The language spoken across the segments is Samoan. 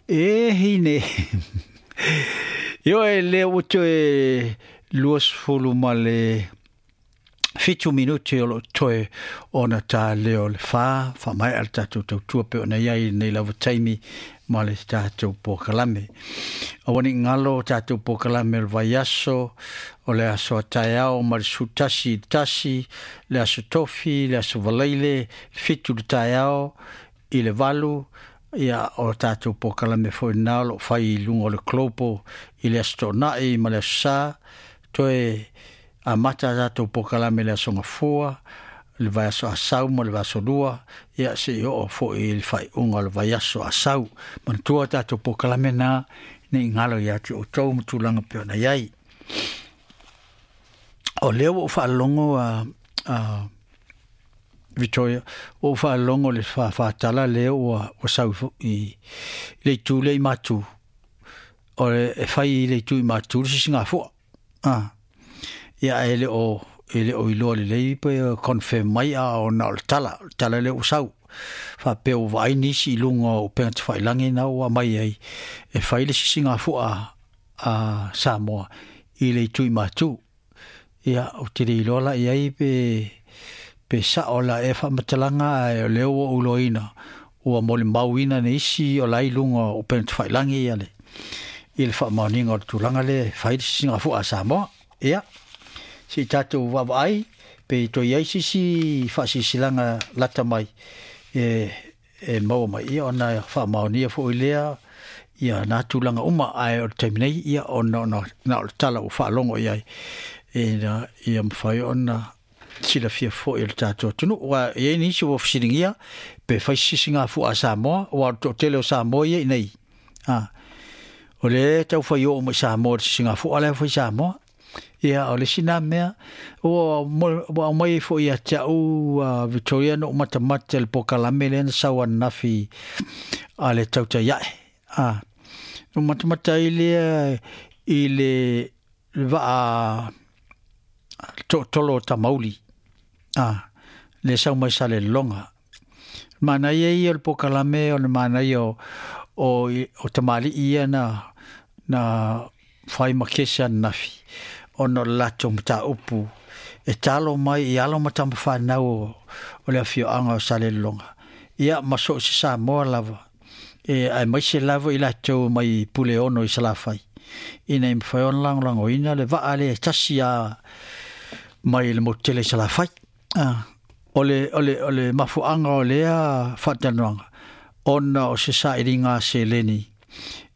E hine. Ioe lea ua toe 27 minute o loo toe ona ta lea o le 4, faamaea le tatou tautua pei ona i ai i lenei lava taimi ma le tatou polokalame. Aua ne i galo tatou polokalame o le vaiaso, o le aso a taeao mai le 11 i le 1, le aso Tofi, le aso Faraile, le 7 i le taeao i le 8, ia o tatou polokalame foi lena o loo fai i luga o le Global i le aso Toonai ma le aso Sa, toe amata a tatou polokalame i le aso Gafua, le vaiaso Asau ma le vaiaso Lua, ia seia oo foi i le faaiuga o le vaiaso Asau. Manatua tatou polokalame na, ne i galo ia te outou ma tulaga pei ona i ai. O lea ua ou faalogo a Victoria, ua ou faalogo i le faafatala lea ua sau i le itu lea i Matu, o le, e fai i le itu i Matu le sisigafua. Ah. Ia ae le o e le o iloa lelei pe confirm mai a o na o le tala, o le tala lea ua sau. Faapea ua vaai nisi i luga o upega tafailagi na ua aumai ai e fai le sisigafua a Samoa i le itu i Matu. Ia, ou te le iloa la i ai pe pe sao la ea faamatalaga ae o lea ua ou iloaina ua molimauina nisi o la i luga o upega tafailagi ia le i le faamaoniga o le tulaga lea e fai le sisigafua a Samoa. Ia, se i tatou vaavaai pe toe i ai se isi faasilasilaga lata mai e e maua mai, ia ona faamaonia foi lea ia na tulaga uma, ae o le taimi nei, ia ona ona na o le tala ua faalogo i ai ina ia mafai ona silafia foi e le tatou atunuu. Aua e i ai nisi ua fesiligia pe fai se sisigafua a Samoa, aua o le toatele o Samoa ia i inei. A, o lea e taufai oo mai Samoa i le sisigafua la e fai i Samoa. Ia, o le isi na mea, ua ua aumai ai foi ia te au Victoria na ou matamata i le polokalame lea na sau ananafi a le tautai ae. A, na ou matamata ai lea i le vaa tootolo o Tamauli, a, lea sau mai Salelologa. Manaia ia o le polokalame o le manaia o tamalii ia na fai ma kesi ananafi ona o le latou mataupu e talo mai i alo ma tama fanau o le afioaga o Salelologa, ia ma so o se Samoa lava, e aemaise lava i latou mai Puleono i Salafai, ina ia mafai ona lagolagoina le vaa lea e tasi a mai le motu tele i Salafai. O le, o le, o le mafuaaga o lea faatalanoaga, ona o se sailiga seleni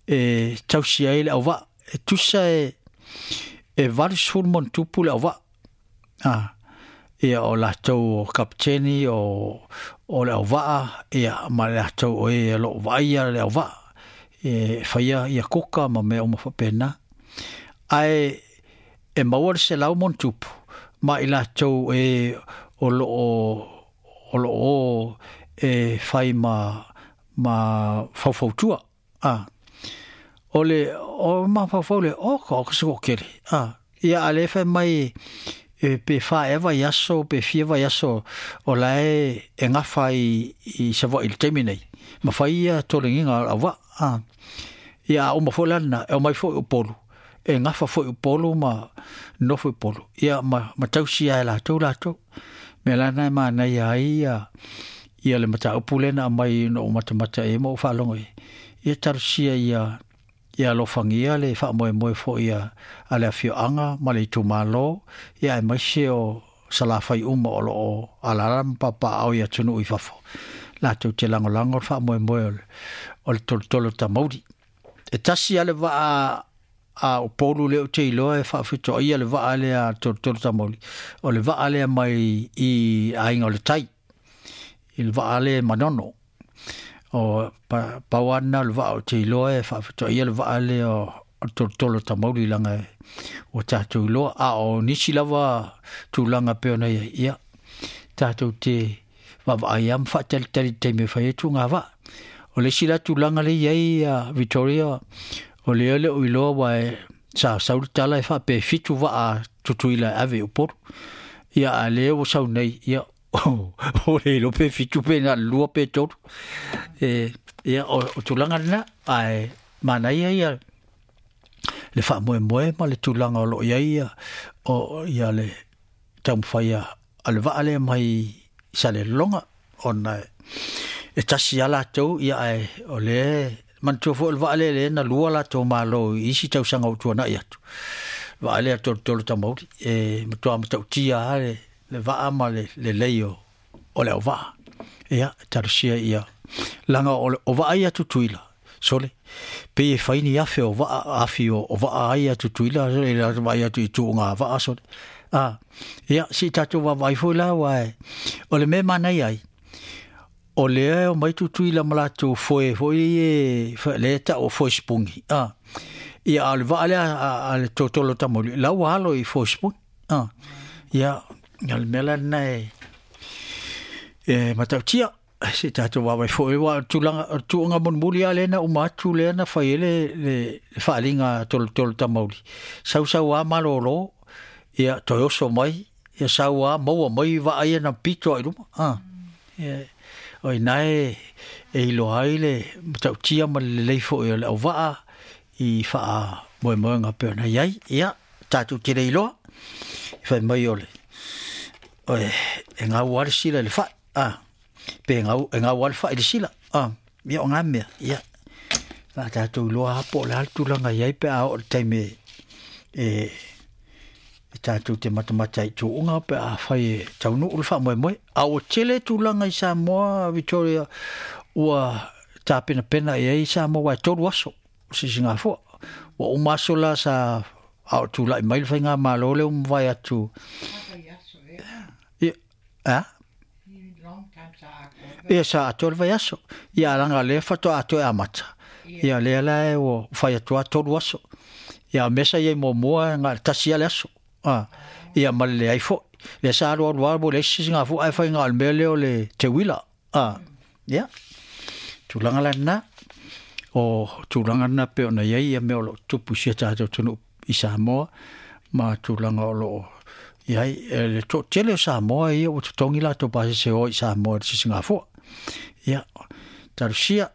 e tausi ai le auvaa. E tusa e 80 ma ono tupu le auvaa. Ah, ia o latou o kapiteni o le auvaa, ia ma latou o e o loo vaaia le auvaa e faia ia kuka ma mea uma faapena. Ae e maua le 100+ ma i latou e o loo e fai ma faufautua. A, o le o mafaufau le o ka o ka se toatele. A, ia a lea fai mai e pe 4 ea vaiaso pe fia vaiaso o la e gafa i Savaii i le taimi nei ma fai ia tolegiga o le auvaa. A, ia a uma foi la lena e omai foi i Upolu e gafa foi i Upolu ma nofo i Upolu, ia ma tausi ai e latou latou. Mea la lena e manaia ai ia le mataupu lea na aumai na ou matamata i ai ma ou faalogo i ai. Ia talosia ia ia alofagia le faamoemoe foi a le afioaga ma le itumalo, ia aemaise o Salafai uma o loo alaala ma papaaao i atunuu i fafo, latou te lagolago le faamoemoe o le tolotolo tamauli. E tasi lava le vaa a Upolu lea ou te iloa e faafetoaia le vaa lea a le tolotolo tamauli, o le vaa lea mai i Aiga o le Tai, i le vaa lea e Manono. O pau lava lena o le vaa ou te iloa e faafetoaia le vaa lea o le tolotolo tamauli, leaga ua tatou iloa. A o nisi lava tulaga pei ona i ai, ia tatou te vaavaai lava ma faatalitali i le taimi e fai ai tuuga vaa. O le isi la tulaga lea e i ai Victoria, o lea le o iloa aua sa sau le tala e faapea e 7 vaa Tutuila e ave i Upolu. Ia a lea ua sau nei, ia o le iloa pe 7 pe na o le 2 pe 3. E Ia, o tulaga lena, ae manaia ia le faamoemoe ma le tulaga o lo o i ai ia, o ia le taumafai a le vaa lea mai Salelologa, ona e tasi lava latou, ia ae o lea manatua foi o le vaa lea lea na lua latou malo i isi tausaga ua tuanai atu. Vaa lea Tolotolo Tamauli, e matua matautia lava le vaa ma le lelei o le auvaa. Ia, talosia ia, laga o vaa ia Tutuila, sole, pei e fai ni afe o vaa, afi o vaa ai a Tutuila, e vaai atu i tuuga vaa, sole. Ia, si tatou vaavaai foi la, aua o le mea manaia ai, o lea e omai Tutuila ma latou foe foi e, lea e tau o foe sipugi. Ia, a o le vaa lea a le Tolotolo Tamauli, la ua alo i foe sipugi. Ia, o le mea la lena e matautia. Se tatou vaavaai foi, aua o tulaga, o tuuga mulimuli lava lea na uma atu lea na fai ai le faaaliga a Tolotolo Tamauli. Sau sau lava malolo, ia toe oso mai, ia sau lava maua mai vaa ia na pito ai luma. Ia, o ina e iloa ai le matautia ma le lelei foi o le auvaa i faamoemoega pei ona i ai. Ia, tatou te le iloa, i fai mai o le, e gau lava le sila i le fai. Pe e gau lava le fai i le sila. Ia o ngā mea, ia, la tatou iloa lava po o le a le tulaga i ai pe a oo i le taimi e tatou te matamata i tuuga pe a fai e taunuu le faamoemoe. A ua tele tulaga i Samoa, Victoria, ua tapenapena i ai Samoa, aua e 3 aso o sisigafua. Ua uma aso la sa a o tulai mai le faigamalo lea ua mavae atu. Ia, a? Ia, sa atoa le vaiaso. Ia, laga lea faatoa atoa e amata. Ia, lea la e ua fai atu lava 3 aso. Ia, o mea sa i ai muamua, na o le tasi lava le aso. Ia, ma le leai foi. Lea sa alu alu lava ua leai se sisigafua, ae fai na o le mea lea o le teuila. Ia, tulaga la lena. O tulaga lena pei ona i ai ia mea o lo o tupu i si o tatou atunuu i Samoa, ma tulaga o lo o i ai. Le toatele o Samoa ia ua totogi latou pasese o i Samoa i le sisigafua. Ia, talosia,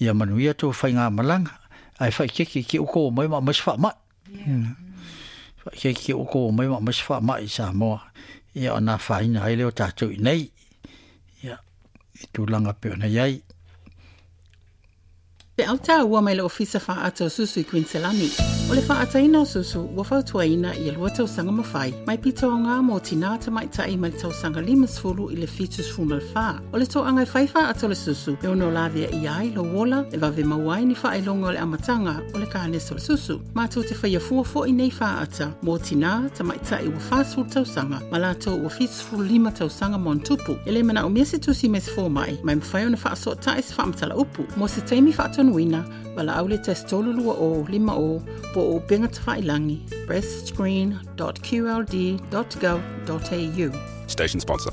ia manuia tou faigamalaga, ae faikeke ke uko o mai ma aumai se faamai. Faikeke ke uko o mai ma aumai se faamai i Samoa. Ia, ona afaina ai lea o tatou i nei. Ia, i tulaga pei ona i ai. Feau taua mai le Ofisa Faaata o Susu i Kuiniselani. O le faaataina o susu ua fautuaina ia 2 tausaga ma fai, mai pito aoga mo tinā tamaitai mai le tausaga 50 i le 74. O le toaga e fai faaata o le susu e ono lavea ia ai lou ola e vave maua ai ni faailoga o le amataga o le kanesa o le susu. Matou te faia fua foi nei faaata mo tinā tamaitai ua 40 tausaga ma latou ua 75 tausaga ma ona tupu. E le manaomia se tusi mai se fomai, ma e mafai ona faasootai se faamatala upu. Mo se taimi faatonuina, valaau le 1 3 2 0 5 0 po o upega tafailagi breastscreen.qld.gov.au. Station sponsor.